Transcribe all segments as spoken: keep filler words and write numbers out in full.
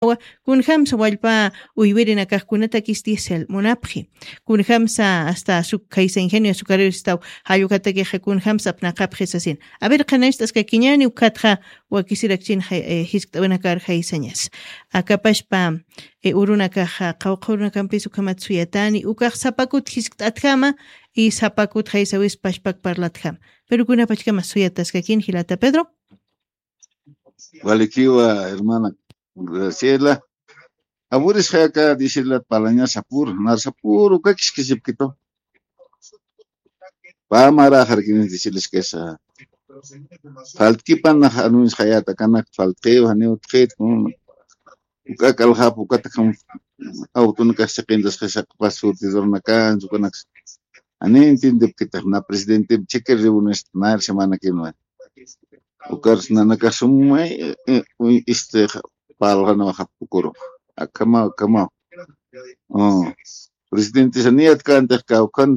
Kunjamsa wallpa uywirinakax kunatakis diésel munapxi. Kunjamsa hasta azuc-, kaysa ingenio azucarero istaw jallukatakixa kunjamsa apnaqapxi sasin. A ver, qhanañcht'askakiñäni ukatxa wakisirakchin jay-, eh, jiskt'awinakar jaysañas. Akapashpa, eh, urunakaxa, qawqha urunakampis ukhamat suyatani, ukax sapakut jiskt'atjama, y sapakut jaysawis pashpak parlatjama. Pero kunapachkama suyataskakin jilata Pedro. Walikiwa, hermana Graciela. Aburis jayaka disilat palaña sapur, nar sapur, uka kiskisipkitu. Pamara jarkinis disilis kesa. Faltkipanax anunis jayata kanak faltkiw, janiw utjit, uka kalxap, uka takam autunakax siqintas qisaqpas surtidornakan, ukanaks. Ani entiendepkitax na presidente cheque reuniones na semana que no. Ukar nanakax sumay, eh, eh, uy, este, palxanawaxap ukuru. Akama, akama. Oh. Presidente saniyat kantix kawkhan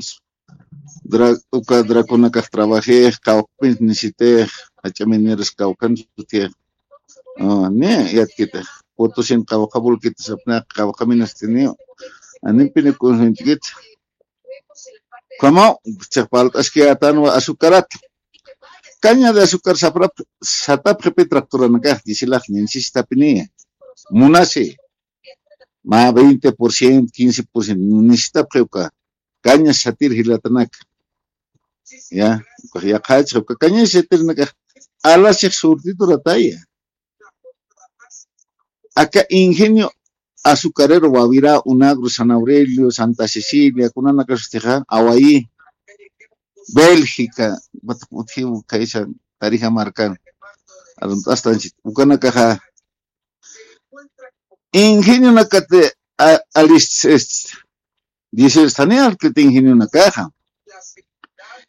dra-, uka drakunakax trabajix, kawkpin nisitix, ach'aminiris kawkhan sutix. Oh, ni yatkitix. Potosin kawkha bulkitas apnaq, kawkha minastiniw. Animpini kunsuñchkit. Como, chiqpalt'askiyätanwa azucarat. Caña de azúcar saprap, satapxipi tractoranakax, disilax, ninsistapiniya. Munasi. Mä veinte por ciento, quince por ciento, ninsistapxi uka. Caña satir jilatanaka. Ya, uka yaqhachxa, uka caña satirinakax, alasix surtidurataya. Aka ingenio azucarero Wawirá, Unagro, San Aurelio, Santa Cecilia, kunanakasustixa, Awayi, Bélgica, bat-, utjiw kaysa Tarija markan, arunt'astanchit, ukanakaxa, ingenionakati, a-, alist, est, dice, sani alkit ingenionakaxa.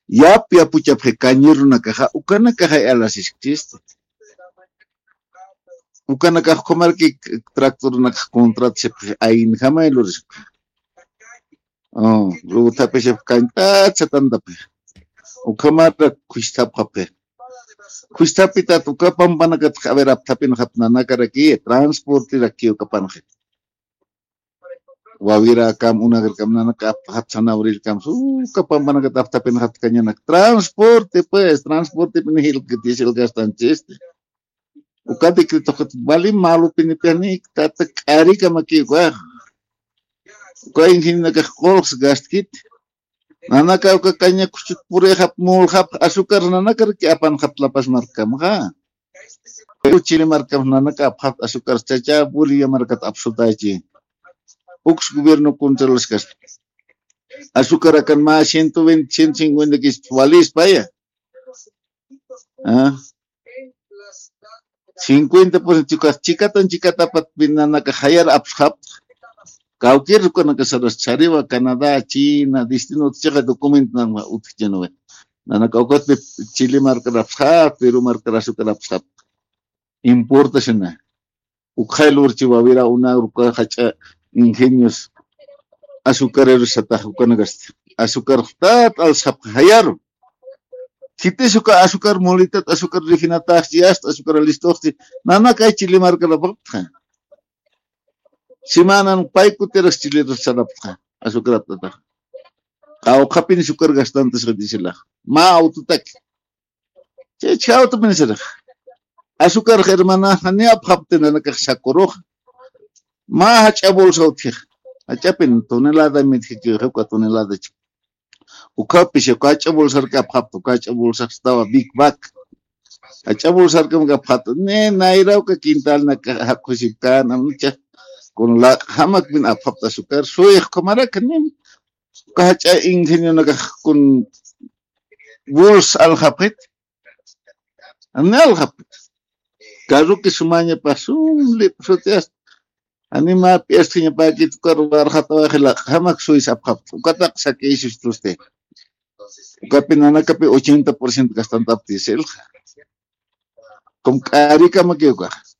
Yap, yapuchapxi cañerunakaxa, ukanakaxa alasiskchisti. Ukanakax ukhamarki tractorunakax contratsipxi, aynjamay lurispa. Oh, luego tapisipxi, kañt'at satantapxi. Ukhamara khustapxapxi. Khustapitat uka pampanakat, a ver, apthapinxapxi nanakaraki, transporteraki ukapanxi. Wawirakäm, Unagrkäm, nanaka aptxapxi, San Aureliokäm, uka pampanakat apthapinxapxi cañanak. Transporte, pues, transportepini jilkit, diésel gastanchisti. Uka decretoxat vali malupinipiani, tata k'arikamakiw ukax. Uka ingenionakax qullqs gastkit. Nanaka uka caña kuchut purixap, mulxap, azúcar nanakaraki apanxapxi La Paz markamxa. Pero Chile markam nanaka apxapxi azúcar, chacha Bolivia markat apsutachi. Uks gobierno controlskasti. Azúcar akan mä ciento veinte, ciento cincuenta kis walispaya. Ah. Cincuenta por ciento chika-, chikatan chikatapat nanaka jayar apsxapxi. Kawkir ukanaka saras chariwa, Canadá, China, destino utjixa documento nanaka utjchinuwi. Nanaka ukatpi Chile markar apsxapxi, Perú markar azúcar apsxapxi. Importación. Ukxay lurchi Wawirá, Unagro, uka jach'a ingenios azucareros satax ukanakasti. Azúcar jtat alsxapxi jayaru. Khitis uka azúcar molitat, azúcar refinataxchi, yasta azúcar listoxchi, nanakay Chile markar apxapxi. Semanan pay kutiras Chile sarapxi, azúcar aptatax. Qawqhapin azúcar gastantasxi disilax. Mä autotaki. Chaychha autopin sirix. Azúcar hermana, jani apxapxti nanakax sakurux. Mä jach'a bolsa utjix. Jach'apin tonelada mitjiki, uka tonelada chik. Ukapis, uka jach'a bolsarki apxapxti, uka jach'a bolsax istawa Big Bag. Jach'a bolsarkam apxapxti, ni nayra uka quintalnak jakxusipkan, amcha. Kun laq'jamakpin apxapxti azúcar, suyix ukhamaraki, ni. Uka jach'a ingenionakax kun bolsa aljapxit. Ni aljapxit. Carroki sumañapax sum lip sutias. Anima pi'astiñapäkit, ukar warxatawaxi laq'jamak suyis apxapxti. Ukataq sakïsist'usti. Ukapi nanakapi ochenta por ciento gastantapxti diéselxa. Kum k'arikamakiw ukax.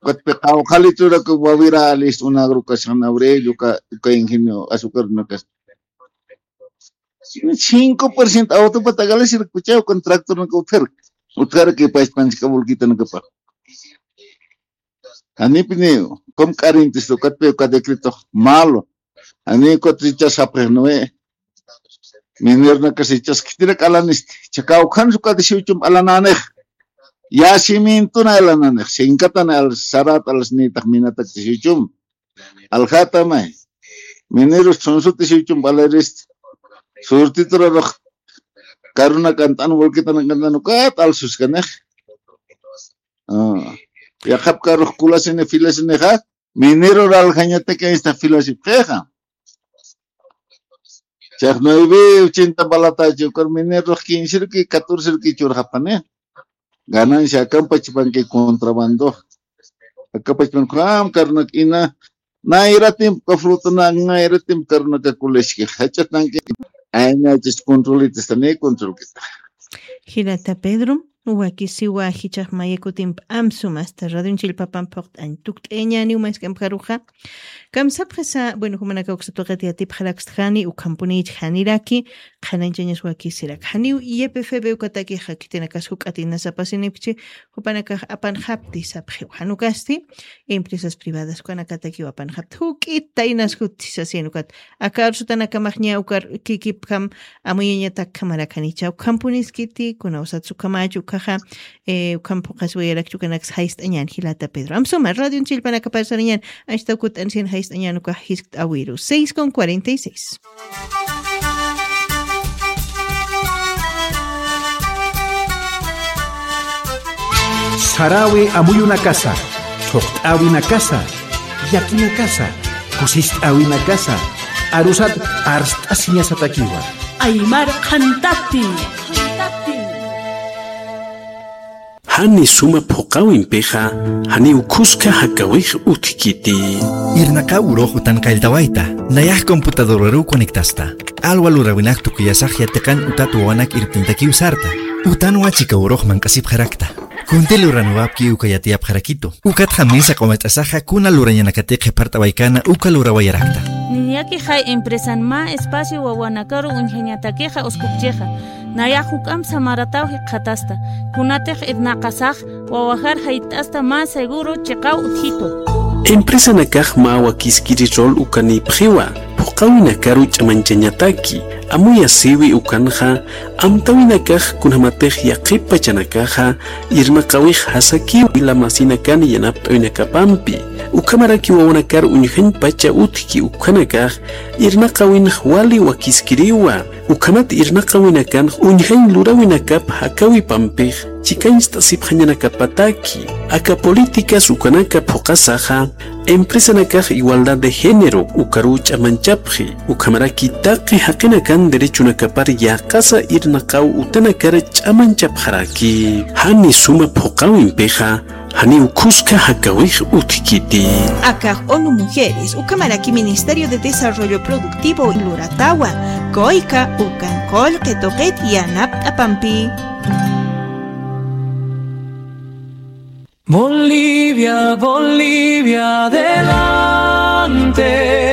Ukatpi qawqha litrorak Wawirá, alist, Unagro, uka San Aurelio, uka, uka ingenio azúcar unakas. Cinco por ciento autopata galisirkuchaw, ukan tractornak utjarki. Utjarki pachpanchka bolquitanakapax. Janipiniw, kum k'arintista ukatpi uka decretox malo. Janiw ukat jichhas sapxix nuwi. Mineronakas jichhas khitirak alanisti. Jichha kawkhansa ukatisiw chump alanänix. Yacimientona alanänix. Sinkatan al sarat alasnïtax minatak tisiw chump. Aljätamay. Mineros chhunsuti sichum alarist. Surtiturarux karuna kant'an, volquetana kant'an ukat alsuskanix. Ah. Yaqhap karux kulasini filasinixa, mineror aljañataki esta filasipxixa. Chax nueve ochenta balatachi, ukar minerux quince ruki, catorce ruki churxapani. Ganancia akampa chipanki contrabando. Akapa chipan kum karnak ina. Nayratimp kafrutana, nayratimp karnaka kuleski. Jachatanki. Ayna chis controlita, esta ni controlkita. Jilata Pedro, wakisiwa jichhax mayakutimp amsum hasta radion chillpapan phuqt'añ tukt'añäniw mask'amp karuxa. Kamsapxisa, bueno, jumanaka uksa tuqit yatipxarakstxani, ukhampunïch janiraki, qhanañchañas wakisirak. Janiw Y P F B ukatakixa khitinakas juk'atina sapasinipchi, jupanakax apanxapti sapxiw. Jan ukasti, empresas privadas ukanakatakiw apanxapti. Juk'ita inas juti sasin ukat. Aka arsutanakamax ña ukar kikipjam amuyañatak kamarakanicha. Ukhampuniskiti, kunawsat ukhamachi ukaxa, eh, ukham phuqasiwayarakchi ukanaks jayst'añän jilata Pedro. Amsuma, radion chillpanakapar sarañän, acht'aw kut'ansin jayst'añän ukax jiskt'awiru. Seis con cuarenta y seis. Sarawi amuyunakasa, thuqt'awinakasa, llakinakasa, kusist'awinakasa, arusat arst'asiñasatakiwa. Aymar qhantati. Jani suma phuqawimpixa, janiw khuska jakawix utjkiti. Irnaqaw urux utan qalltawayta, nayax computadoraruw conectasta. Q'alwa lurawinak tukuyasax yatiqan utat wawanak irptintakiw sarta. Utanwa chika urux manq'asipxarakta. Kunti luraniwapki uka yatiyapxarakitu. Ukatxa mesa q'umat'asaxa kuna lurañanakati qhipart'awaykana uka lurawayarakta. Niñakixay empresan mä espacio wawanakaru uñjañatakixa uskupchixa. Nayax juk'amp samarataw jikxatasta. Kunatix irnaqasax wawajar jayt'asta mä seguro chiqaw utjitu. Empresanakax mä wakiskiri rol ukanïpxiwa, phuqawinakaru ch'amañchañataki, amuyasiwi ukanxa, amtawinakax kunjamatix yaqhip pachanakaxa, irnaqawix jasakiw wila masinakan yanapt'awinakapampi, ukhamaraki wawanakar uñjañ pacha utjki ukhanakax, irnaqawinx wali wakiskiriwa. Ukhamat irnaqawinakanx uñjañ luräwinakap jakawipampix chikañcht'asipxañanakapataki. Aka políticas ukanaka phuqasaxa, empresanakax igualdad de género ukaruw ch'amañchapxi, ukhamaraki taqi jaqinakan derechonakapar yäqasa irnaqaw utanakar ch'amañchapxaraki. Jani suma phuqawimpixa, janiw khuska jakawix utjkiti. Akax ONU Mujeres, ukhamaraki Ministerio de Desarrollo Productivo luratawa, kuyka ukan qullqi tuqit yanapt'apampi. Bolivia, Bolivia, adelante.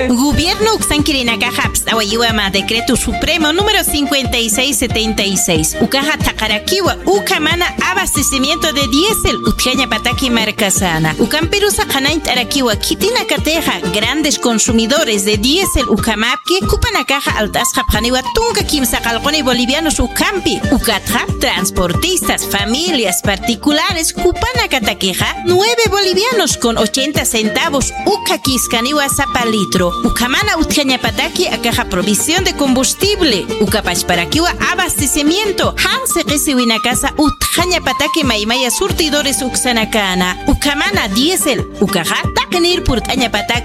Gobierno uksankirinakaxa apst'awayiwa mä decreto supremo número cincuenta y seis setenta y seis. Ukaxa thaqarakiwa ukhamana abastecimiento de diésel utjañapataki markasana. Ukampirusa qhanañt'arakiwa khitinakatixa grandes consumidores de diésel ukhamapki, jupanakaxa alt'asxapxaniwa tunka kimsa qallquni bolivianos ukhampi. Ukatxa transportistas, familias particulares, jupanakatakixa nueve bolivianos con ochenta centavos ukhakiskaniwa sapa litro. Ukhamana utjañapataki akaxa provisión de combustible, uka pachparakiwa abastecimiento, jan siqisiwinakasa utjañapataki maymaya surtidores uksanakana. Ukhamana diésel, ukaxa taqinir purt'añapataki